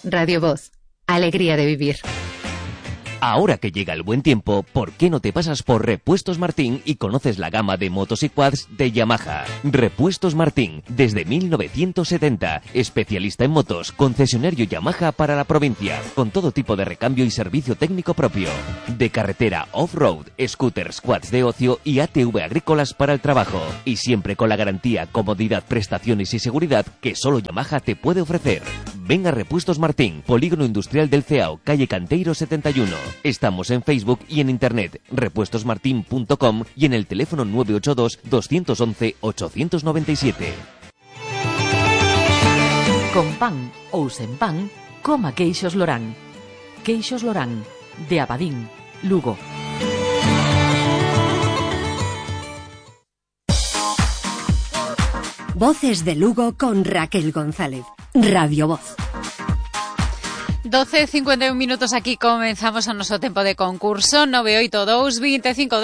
Radio Voz. Alegría de vivir. Ahora que llega el buen tiempo, ¿por qué no te pasas por Repuestos Martín y conoces la gama de motos y quads de Yamaha? Repuestos Martín, desde 1970, especialista en motos, concesionario Yamaha para la provincia, con todo tipo de recambio y servicio técnico propio. De carretera off-road, scooters, quads de ocio y ATV agrícolas para el trabajo. Y siempre con la garantía, comodidad, prestaciones y seguridad que solo Yamaha te puede ofrecer. Ven a Repuestos Martín, Polígono Industrial del Ceao, calle Canteiro 71. Estamos en Facebook y en internet, repuestosmartin.com y en el teléfono 982 211 897. Con pan ou sen pan, coma queixos Lorán. Queixos Lorán, de Abadín, Lugo. Voces de Lugo con Raquel González. Radio Voz. 12:51 minutos aquí comenzamos o noso tempo de concurso 982 25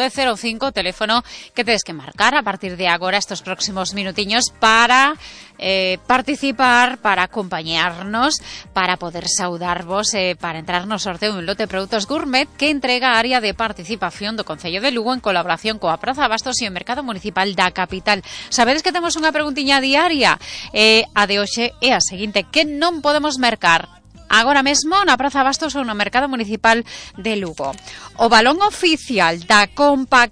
teléfono que tedes que marcar a partir de agora estos próximos minutiños para participar, para acompañarnos, para poder saudarvos, para entrar no sorteo un lote de produtos gourmet que entrega a área de participación do Concello de Lugo en colaboración coa Praza Bastos e o Mercado Municipal da capital. Sabedes que temos unha preguntiña diaria, a de hoxe é a seguinte: que non podemos mercar agora mesmo na Praza Bastos ou no Mercado Municipal de Lugo? O balón oficial da Copa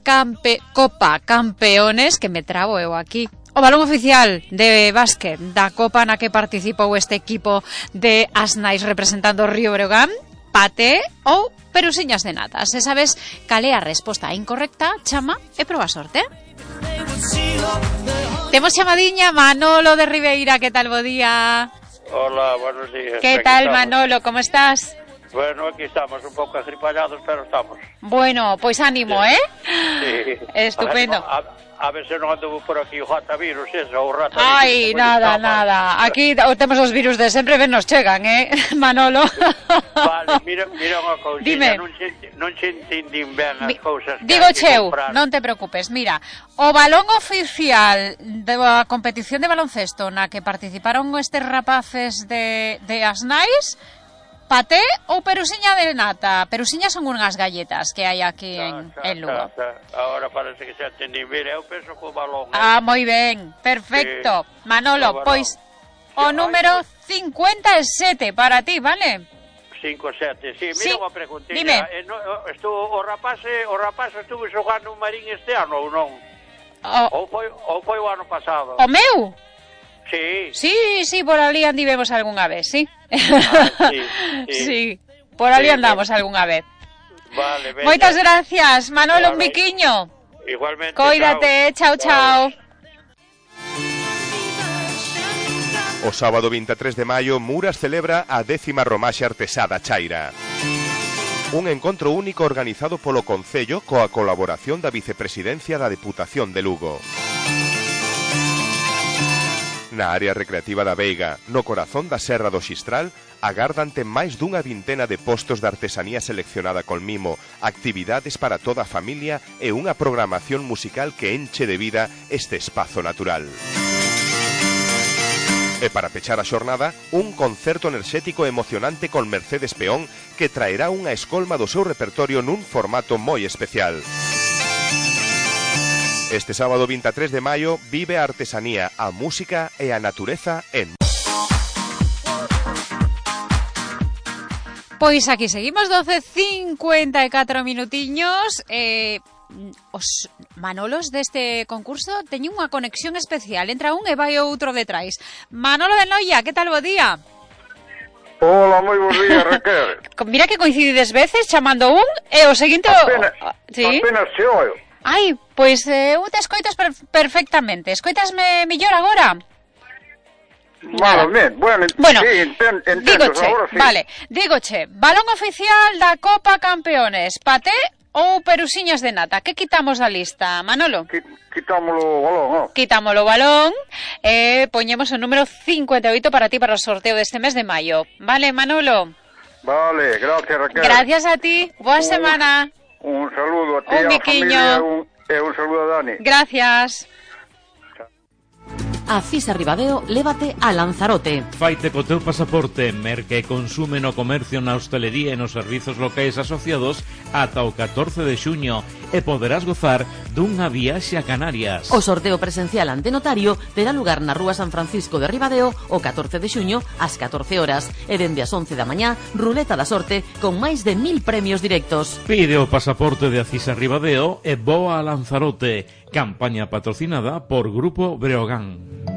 Campeones, que me trabo eu aquí, o balón oficial de básquet da Copa na que participou este equipo de Asnais representando o Río Breogán, paté ou perusiñas de nata. Se sabes cal é a resposta incorrecta, chama e proba a sorte. Temos chamadiña Manolo de Ribeira, que tal, bo día? Hola, buenos días. ¿Qué tal, Manolo? ¿Cómo estás? Bueno, aquí estamos, un pouco agripallados, pero estamos. Bueno, pois ánimo, sí. Sí. Estupendo. A ver se non ando por aquí o ratavirus, eso, o ratavirus. Ai, nada. Aquí temos os virus de sempre, ben nos chegan, Manolo? Vale, mira unha cousa. Dime. Non che entendín ben as cousas que digo hai que cheu, comprar. non te preocupes. Mira, o balón oficial da competición de baloncesto na que participaron estes rapaces de Asnais, paté ou perusiña de nata? Perusiñas son unhas galletas que hai aquí en Lugo. Ahora parece que se entendí. Mira, eu penso que o balón... Ah, moi ben, perfecto. Sí. Manolo, pois o número 57 para ti, vale? 57, sí. Mira unha preguntilla. Dime. O rapaz estuvo xogando un Marín este ano ou non? Ou foi o ano pasado? O meu? Sí. Sí, por ali andivemos algunha vez, sí. Sí, por ali andamos algunha vez. Vale, venga. Moitas gracias, Manolo, un biquiño. Igualmente. Cóidate, chao. O sábado 23 de maio, Muras celebra a 10ª Romaxe Artesá da Chaira. Un encontro único organizado polo Concello coa colaboración da Vicepresidencia da Deputación de Lugo. Na área recreativa da Veiga, no corazón da Serra do Xistral, agárdante máis dunha vintena de postos de artesanía seleccionada con mimo, actividades para toda a familia e unha programación musical que enche de vida este espazo natural. E para pechar a xornada, un concerto enerxético e emocionante con Mercedes Peón que traerá unha escolma do seu repertorio nun formato moi especial. Este sábado 23 de maio vive a artesanía, a música e a natureza en... Pois aquí seguimos, 12:54 minutiños. Os Manolos deste concurso teñen unha conexión especial. Entra un e vai outro detrás. Manolo de Noia, que tal, bo día? Hola, moi bons días, Raquel. Mira que coincidides veces chamando un e o seguinte... Apenas se oio. Ai, pois eu te escoitas perfectamente. Escoitasme mellor agora? Vale, bueno, sí, entendo, dígoche, agora sí. Vale, dígoche, balón oficial da Copa Campeones, paté ou perusiñas de nata? Que quitamos da lista, Manolo? Quitámoslo o balón, non? Quitámoslo o balón e poñemos o número 58 para ti para o sorteo deste mes de maio. Vale, Manolo? Vale, gracias, Raquel. Gracias a ti, boa semana. Un saludo a ti, un a biquiño. familia, e un saludo a Dani. Gracias. A Cisa Ribadeo lévate a Lanzarote. Faite co teu pasaporte, merca e consume no comercio, na hostelería e nos servizos locais asociados ata o 14 de xuño e poderás gozar dunha viaxe a Canarias. O sorteo presencial ante notario terá lugar na Rúa San Francisco de Ribadeo o 14 de xuño ás 14 horas e dende as 11 da mañá, ruleta da sorte con máis de 1000 premios directos. Pide o pasaporte de Acisa Ribadeo e voa a Lanzarote. Campaña patrocinada por Grupo Breogán.